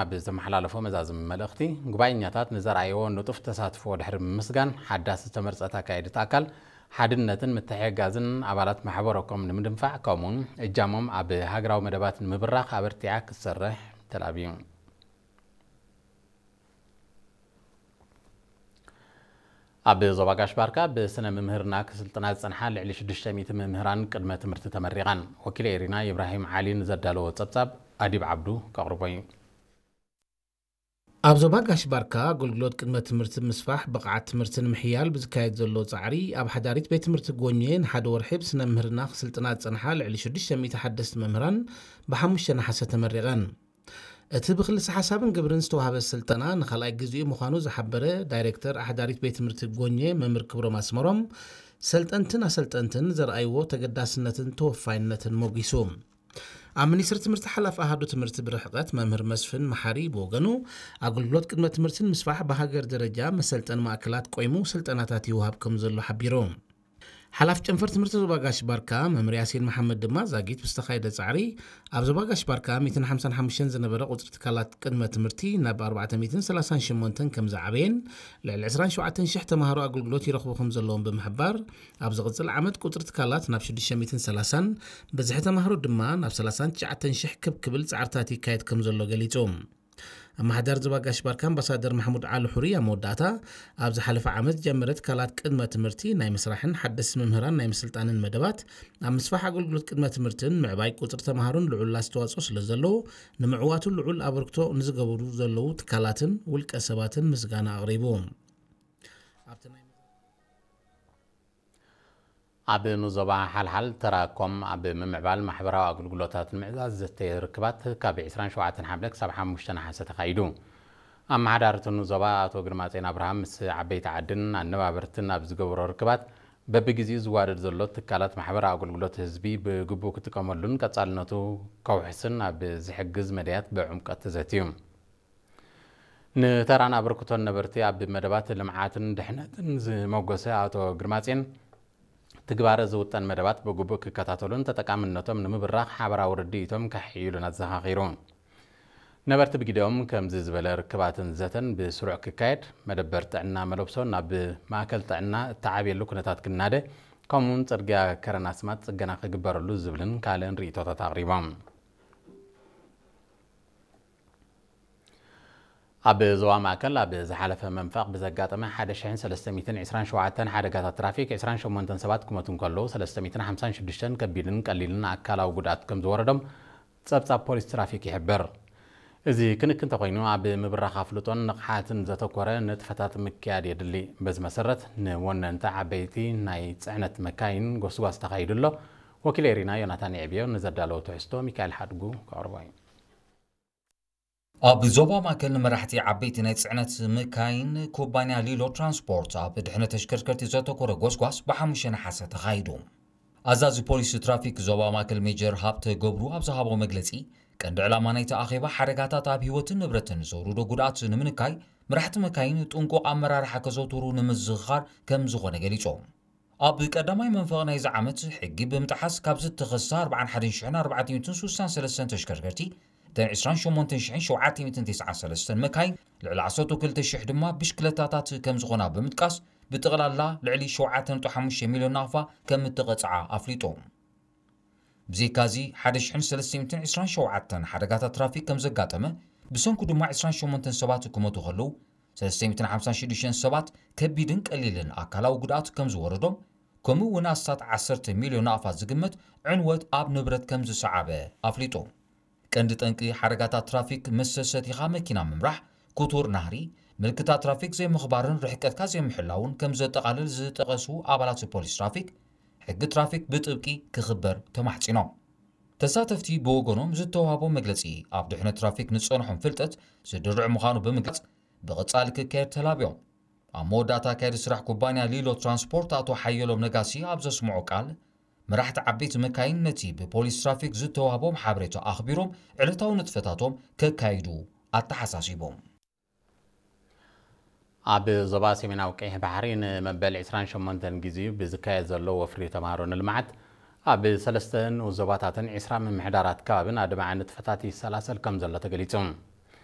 ኣብ ዝተመሓላለፎ መዛዝም መልእኽቲ፣ ጉባኤኛታት ንዘርኣይዎ ንጡፍ ተሳትፎ ድሕሪ ምምስጋን፣ ሓዳስ ዝተመርጸት ኣካየዲት ኣካል ሓድነትን ምትሕግጋዝን ኣባላት ማሕበረ ኮም ንምድንፋዕ፣ ከምኡውን እጃሞም ኣብ ሃገራዊ መደባት ንምብራኽ ኣበርቲዓ ክትሰርሕ ተላብዩ። ኣብ ዞባ ጋሽ ባርካ ብስነ ምምህርና ክስልጥና ዝጸንሓ ልዕሊ ሽዱሽተ ሚእቲ መምህራን ቅድመ ትምህርቲ ተመሪቐን። ወኪል ኤሪና ኢብራሂም ዓሊ ንዘዳለዎ ጸብጻብ ኣዲብ ዓብዱ ከቕርቦ እዩ። ኣብ ዞባ ጋሽ ባርካ ኣገልግሎት ቅድመ ትምህርቲ ምስፋሕ ብቕዓት ትምህርቲ ንምሕያል ብዝካየድ ዘሎ ጻዕሪ፣ ኣብ ሓዳሪት ቤት ትምህርቲ ጎኘ ንሓደ ወርሒ ብስነ ምህርና ክስልጥና ዝጸንሓ ልዕሊ ሽዱሽተ ሚእቲ ሓደስቲ መምህራን ብሓሙሽተ ነሓሰ ተመሪቐን። እቲ ብክልሲ ሓሳብን ግብርን ዝተዋህበ ስልጠና ንኻልኣይ ግዜኡ ምዃኑ ዝሓበረ ዳይሬክተር ኣሕዳሪት ቤት ትምህርቲ ጎኘ መምህር ክብሮም ኣስመሮም፣ ሰልጠንትን ኣሰልጠንትን ዘርኣይዎ ተገዳስነትን ተወፋይነትን ሞጊሱ። ኣብ ሚኒስትሪ ትምህርቲ ሓላፊ ኣሃዱ ትምህርቲ ብርሕቐት መምህር መስፍን መሓሪ ብወገኑ፣ ኣገልግሎት ቅድመ ትምህርትን ምስፋሕ ብሃገር ደረጃ መሰልጠን ማእከላት ቆይሙ ስልጠናታት ይወሃብ ከም ዘሎ ሓቢሩ። ሓላፊ ጨንፈር ትምህርቲ ዞባ ጋሽ ባርካ መምህር ያሲን መሓመድ ድማ፣ ዛጊት ብዝተኻየደ ጻዕሪ ኣብ ዞባ ጋሽ ባርካ ሚእትን ሓምሳን ሓሙሽተን ዝነበረ ቁጽሪ ትካላት ቅድመ ትምህርቲ ናብ ኣርባዕተ ሚእትን ሰላሳን ሸሞንተን ከም ዝዓበየን፣ ልዕሊ ዕስራን ሸውዓተን ሽሕ ተማሃሮ ኣገልግሎት ይረኽቡ ከም ዘለዎም ብምሕባር፣ ኣብ ዝቕጽል ዓመት ቁጽሪ ትካላት ናብ ሽዱሽተ ሚእትን ሰላሳን፣ ብዝሒ ተማሃሮ ድማ ናብ ሰላሳን ትሽዓተን ሽሕ ክብ ክብል ጻዕርታት ይካየድ ከም ዘሎ ገሊጹ። ኣመሓዳሪ ዞባ ጋሽ ባርካ ኣምባሳደር ማሕሙድ ዓሊ ሑሪ ኣብ መወዳእታ፣ ኣብ ዝሓለፈ ዓመት ዝጀመረ ትካላት ቅድመ ትምህርቲ ናይ ምስራሕን ሓደስቲ መምህራን ናይ ምስልጣንን መደባት፣ ኣብ ምስፋሕ ኣገልግሎት ቅድመ ትምህርትን ምዕባይ ቁጽሪ ተማሃሮን ልዑል ኣስተዋጽኦ ስለ ዘለዎ፣ ንምዕዋቱ ልዑል ኣበርክቶ ንዝገብሩ ዘለዉ ትካላትን ውልቀ ሰባትን ምስጋና ኣቕሪቡ። ኣብቲ ናይ ኣብ ንዞባ ሓልሓል ተራኮም ኣብ ምምዕባል ማሕበራዊ ኣገልግሎታት ንምዕዛዝ ዘተየ ርክባት ካብ ዕስራን ሸውዓተን ሓምለ ክሳብ ሓሙሽተ ነሓሰ ተኻይዱ። ኣመሓዳሪ እቲ ንዞባ ኣቶ ግርማጼን ኣብርሃም ምስ ዓበይቲ ዓድን ኣነባበርትን ኣብ ዝገበሮ ርክባት፣ በብግዜኡ ዝዋደድ ዘሎ ትካላት ማሕበራዊ ኣገልግሎት ህዝቢ ብግቡእ ክጥቀመሉን ቀጻልነቱ ከውሕስን ኣብ ዝሕግዝ መዳያት ብዕምቀት ተዘትዩ። ንተራን ኣበርክቶን ነበርቲ ኣብ መደባት ልምዓትን ድሕነትን ዝመጎሰ ኣቶ ግርማጼን፣ ትግባረ ዝውጠን መደባት ብግቡእ ክከታተሉን ተጠቃምነቶም ንምብራኽ ሓበራዊ ርድኢቶም ከሕይሉን ኣዘኻኺሩ። ነበርቲ ብግዲኦም፣ ከምዚ ዝበለ ርክባትን ዘተን ብስሩዕ ክካየድ፣ መደበር ጥዕና መለብሶ ናብ ማእከል ጥዕና እተዓብየሉ ኩነታት ክናደ፣ ከምኡውን ጽርግያ ከረን ኣስማጥ ጽገና ክግበረሉ ዝብልን ካልእን ርእይቶታት ኣቕሪቦም። ኣብ ዞባ ማእከል ኣብ ዝሓለፈ መንፈቕ ብዘጋጠመ ሓደ ሽሕን ሰለስተ ሚእትን ዕስራን ሸውዓተን ሓደጋታት ትራፊክ፣ ዕስራን ሸሞንተን ሰባት ክሞቱ እንከለዉ፣ ሰለስተ ሚእትን ሓምሳን ሽዱሽተን ከቢድን ቀሊልን ኣካላዊ ጉድኣት ከም ዝወረዶም ጸብጻብ ፖሊስ ትራፊክ ይሕብር። እዚ ክንክን እንተኾይኑ፣ ኣብ ምብራኽ ኣፍልጦን ንቕሓትን ዘተኮረ ንጥፈታት ምክያድ የድሊ። በዚ መሰረት፣ ንወነንቲ ዓበይቲ ናይ ጽዕነት መካይን ጎስጓስ ተኻይዱ ኣሎ። ወኪል ኤሪና ዮናታን የዕብዮ ንዘዳለዎ ትሕዝቶ ሚካኤል ሓድጉ ከቕርቦ እዩ። ኣብ ዞባ ማእከል ንመራሕቲ ዓበይቲ ናይ ጽዕነት መካይን ኩባንያ ሊሎ ትራንስፖርት ኣብ ድሕነት ተሽከርከርቲ ዘተኮረ ጎስጓስ ብሓሙሽተ ነሓሰ ተኻይዱ። ኣዛዚ ፖሊስ ትራፊክ ዞባ ማእከል ሜጀር ሃብተ ገብሩ ኣብ ዝሃቦ መግለጺ፣ ቀንዲ ዕላማ ናይቲ ኣኼባ ሓደጋታት ኣብ ህይወትን ንብረትን ዘውርዶ ጉድኣት ንምንካይ፣ መራሕቲ መካይን ጥንቁቕ ኣመራርሓ ከዘውትሩ ንምዝኽኻር ከም ዝኾነ ገሊጾም። ኣብ ቀዳማይ መንፈቕ ናይዚ ዓመት፣ ሕጊ ብምጥሓስ ካብ ዝተኸሳ ኣርባዓን ሓደን ሽሕን ኣርባዕተ ሚእትን ስሳን ሰለስተን ተሽከርከርቲ፣ እተን ዕስራን ሸሞንተን ሽሕን ሸውዓተ ሚእትን ተስዓን ሰለስተን መካይን፣ ልዕሊ ዓሰርተ ክልተ ሽሕ ድማ ብሽክለታታት ከም ዝኾና ብምጥቃስ፣ ብጠቕላላ ልዕሊ ሸውዓተ ነጥቢ ሓሙሽተ ሚልዮን ናቕፋ ከም እተቐጽዓ ኣፍሊጡ። ብዘይካዚ፣ ሓደ ሽሕን ሰለስተ ሚእትን ዕስራን ሸውዓተን ሓደጋታት ትራፊክ ከም ዘጋጠመ፣ ብሰንኩ ድማ ዕስራን ሸሞንተን ሰባት ክሞቱ ከለዉ፣ ሰለስተ ሚእትን ሓምሳን ሽዱሽተን ሰባት ከቢድን ቀሊልን ኣካላዊ ጉድኣት ከም ዝወረዶም፣ ከምኡ እውን ኣስታት ዓሰርተ ሚልዮን ናቕፋ ዝግመት ዕንወት ኣብ ንብረት ከም ዝሰዓበ ኣፍሊጡ። ቀንዲ ጠንቂ ሓደጋታት ትራፊክ፣ ምስ ሰቲኻ መኪና ምምራሕ፣ ክቱር ናህሪ፣ ምልክታት ትራፊክ ዘይምኽባርን ርሕቀትካ ዘይምሕላውን ከም ዘጠቓልል ዝጠቐሱ ኣባላት ፖሊስ ትራፊክ፣ ሕጊ ትራፊክ ብጥብቂ ክኽበር ተማሕጺኖም። ተሳተፍቲ ብወገኖም ዝተዋህቦ መግለጺ፣ ኣብ ድሕነት ትራፊክ ንጸንሖም ፍልጠት ዝድርዕ ምዃኑ ብምግላጽ፣ ብቐጻሊ ክካየድ ተላብዮም። ኣብ መወዳእታ ኣካያዲ ስራሕ ኩባንያ ሊሎ ትራንስፖርት ኣቶ ሓየሎም ነጋሲ ኣብ ዘስምዖ ቃል፣ መራሕቲ ዓበይቲ መካይን ነቲ ብፖሊስ ትራፊክ ዝተዋህቦም ሓበሬታ ኣኽቢሮም ዕለታዊ ንጥፈታቶም ከካይዱ ኣተሓሳሲቦም። ኣብ ዞባ ሰሜናዊ ቀይሕ ባሕሪ ንመበል ዕስራን ሸሞንተን ግዜኡ ብዝካየድ ዘሎ ወፍሪ ተምሃሮ ንልምዓት፣ ኣብ ሰለስተ ንኡስ ዞባታትን ዕስራ ምምሕዳራት ከባብን ኣድማዒ ንጥፈታት ይሰላሰል ከም ዘሎ ተገሊጹ።